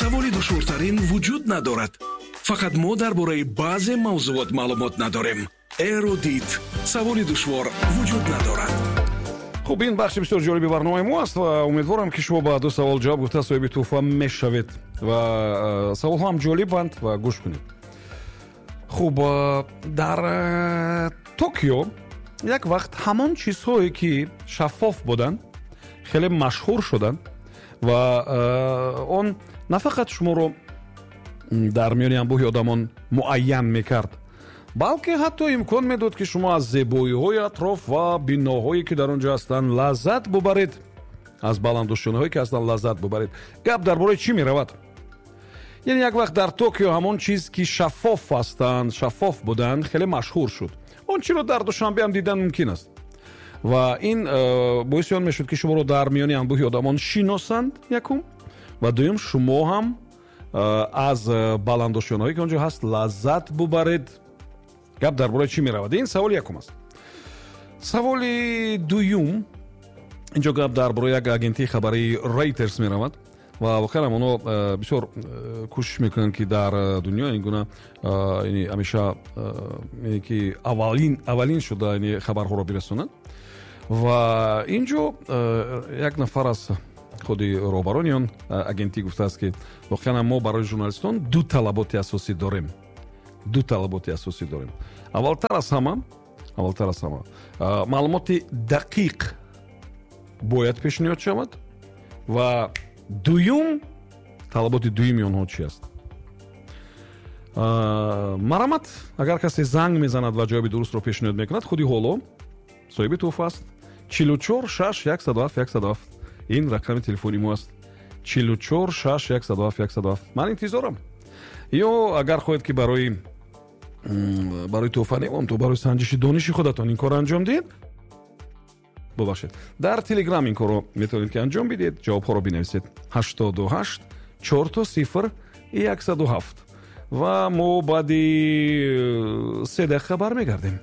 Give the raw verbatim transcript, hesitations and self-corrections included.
Саволи душвортарин вуҷуд надорад. Фақат мо дар бораи баъзе мавзуот маълумот надорем. Эрудит. Саволи душвор вуҷуд надорад. Хуб, ин бахши бисёр ҷолиби барномаи мо аст ва умедворам, ки шумо ба ду савол ҷавоб гуфта соҳиби тӯҳфа мешавед ва саволҳо ҳам ҷолибанд ва гӯш кунед. Хуб, дар Токио як вақт ҳамон чизҳое, ки шаффоф буданд, хеле машҳур шуданд ва он на фақат шуморо дар миёни анбӯҳи одамон муайян мекард, балки ҳатто имкон медод, ки шумо аз зебоиҳои атроф ва биноҳое, ки дар он ҷо ҳастанд, лаззат бубаред, аз баландошёнаҳое, ки ҳастанд, лаззат бубаред. Гап дар бораи чӣ меравад? Яъне як вақт дар Токио ҳамон чиз, ки шаффоф ҳастанд, шаффоф буданд, хеле машҳур шуд. Он чиро дар Душанбе ҳам дидан мумкин аст ва ин э, боиси он мешуд, ки шуморо дар миёни анбӯҳи одамон шиносанд, якум, ва дуюм, шумо ҳам э, аз баландошёнаҳое, ки он ҷо ҳаст, лаззат бубаред. Гап дар бораи чӣ меравад? Ин саволи якум аст. Саволи дуюм: инҷо гап дар бораи як агентии хабарии Рейтерс меравад ва воқеан ҳам онҳо э, бисёр э, кӯшиш мекунанд, ки дар э, дунё ин гуна ҳамеша ки аввалин аввалин шуда хабарҳоро бирасонанд. Ва ин ҷо як нафар аз худи роҳбарони он агентӣ гуфтааст, ки воқеан мо барои журналистон ду талаботи асосӣ дорем, ду талаботи асосӣ дорем. аввалтар аз ҳама аввалтар аз ҳама маълумоти дақиқ бояд пешниҳод шавад. Ва дуюм, талаботи дуюми онҳо чи аст? Марамат, агар касе занг мезанад ва ҷавоби дурустро пешниҳод мекунад, худи ҳоло соҳиби тӯҳфа аст. Чилу чор шаш яксаду ҳафт яксаду ҳафт, ин рақами телефони мо аст: чилу чор шаш яксаду ҳафт яксаду ҳафт. Ман интизорам. Ё агар хоҳед, ки барои барои тӯҳфа не, то барои санҷиши дониши худатон ин корро анҷом диҳед, бубахшед, дар Телеграм ин корро метавонед, ки анҷом бидиҳед. Ҷавобҳоро бинависед: ҳаштоду ҳашт чорто сифр яксаду ҳафт. Ва мо баъди се дақиқа бармегардем.